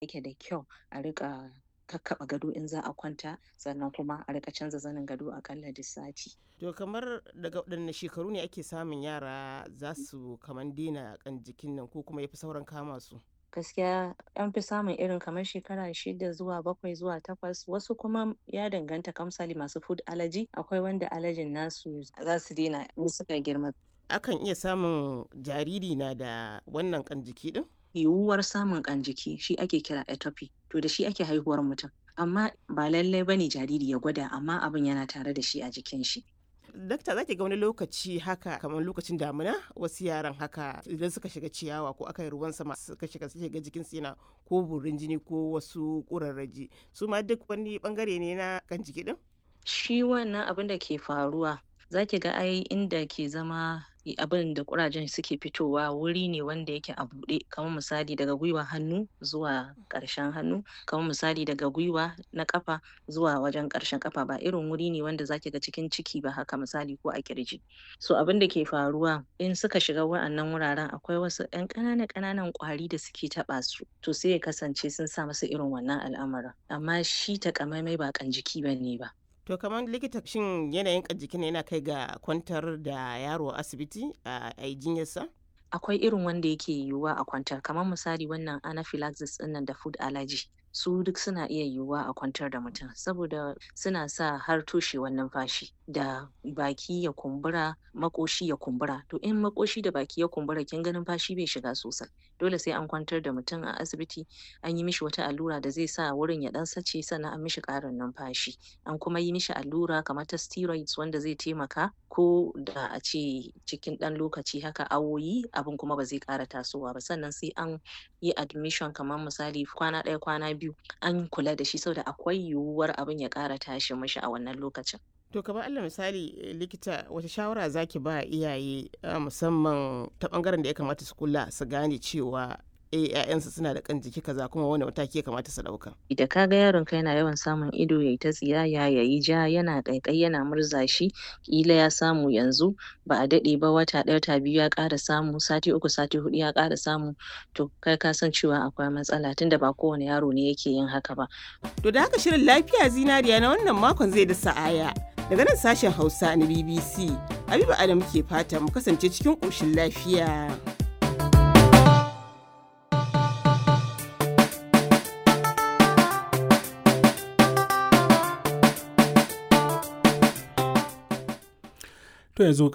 Yake da kyau a riƙa kakkaɓe gado in za a kwanta, sannan kuma a riƙa canza zanin gado aƙalla duk sati. To kamar daga waɗanne shekaru ne ake samun yara za su kaman daina ƙan jikin nan ko kuma yafi sauran kama su? Gaskiya an fi samun irin kamar shekara 6 zuwa 7 zuwa 8, wasu kuma ya danganta, kamar misali masu food allergy, akwai wanda allergy nasu za su daina in suka girma. Akan iya samun jariri na da wannan ƙan jiki ɗin? Yiwuwar samun ƙan jiki shi ake kira atopy, to da shi ake haihuwar mutum. Amma ba lallai bane jariri ya gwada, amma abin yana tare da shi a jikin shi. Dakta, za ki ga wani lokaci haka kamar lokacin damina, wasu yaran haka idan suka shiga ciyawa ko aka yi ruwan sama suka shiga, suka ga jikinsu yana ko burin jini ko wasu ƙurarraji, su ma duk wani bangare ne na kan jiki din? Shi wannan abin da ke faruwa, za ki ga ai inda ke zama abin da ƙurajen suke fitowa wuri ne wanda yake a buɗe, kamar misali daga gwiwa hannu zuwa ƙarshen hannu, kamar misali daga gwiwa na ƙafa zuwa wajen ƙarshen ƙafa, ba irin wuri ne wanda za ki ga cikin ciki ba haka misali ko a ƙirji. So abin da ke faruwa, in suka shiga wa'annan wuraren, akwai wasu ƴan ƙananan ƙananan ƙwari da suke taɓa su, to sai ya kasance sun sa musu irin wannan al'amarin. Amma shi takamaimai ba ƙan jiki bane ba. To kamar likita, shin yanayin kan jikin yana kai ga kwantar da yaro a asibiti a yi jinyarsa? Akwai irin wanda yake yiwuwa a kwantar, kamar misali wannan anaphylaxis ɗinnan da food allergy, su duk suna iya yiwuwa a kwantar da mutum saboda suna sa har toshewar numfashi da baki ya kumbura, maƙoshi ya kumbura. To in maƙoshi da baki ya kumbura, kin ga numfashi bai shiga sosai. Dole sai an kwantar da mutum a asibiti, an yi mishi wata allura da zai sa wurin ya ɗan sace, sannan an mishi ƙarin numfashi. An kuma yi mishi allura kamar ta steroids wanda zai taimaka ko da a ce cikin ɗan lokaci haka, awoyi, abin kuma ba zai ƙara tasowa ba. Sannan sai an yi admission, kamar misali kwana ɗaya, kwana 2, an kula da shi saboda akwai yiwuwar abin ya ƙara tashi mishi a wannan lokacin. To kamar Allah misali, likita, wata shawara zaki ba iyaye, musamman ta bangaren da ya kamata su kula su gane cewa ‘ya'yansu suna da kan jiki kaza, kuma wani mataki ya kamata su ɗauka? Da ka ga yaronka yana yawan samun ido yayi ta tsiyaya, yayi ja, yana ƙaiƙayi, yana murza shi, ƙila ya samu yanzu, ba a daɗe ba, wata ɗaya, wata 2 ya ƙara samu, sati 3, sati 4 ya ƙara samu, to kai ka san cewa akwai matsala, tunda ba kowane yaro ne yake yin haka ba. To da haka shirin Lafiya Zinariya na wannan makon zai da sa'aya. Daga nan sashen Hausa na BBC, Habiba Adam ke fata mu kasance cikin ƙoshin lafiya. To yanzu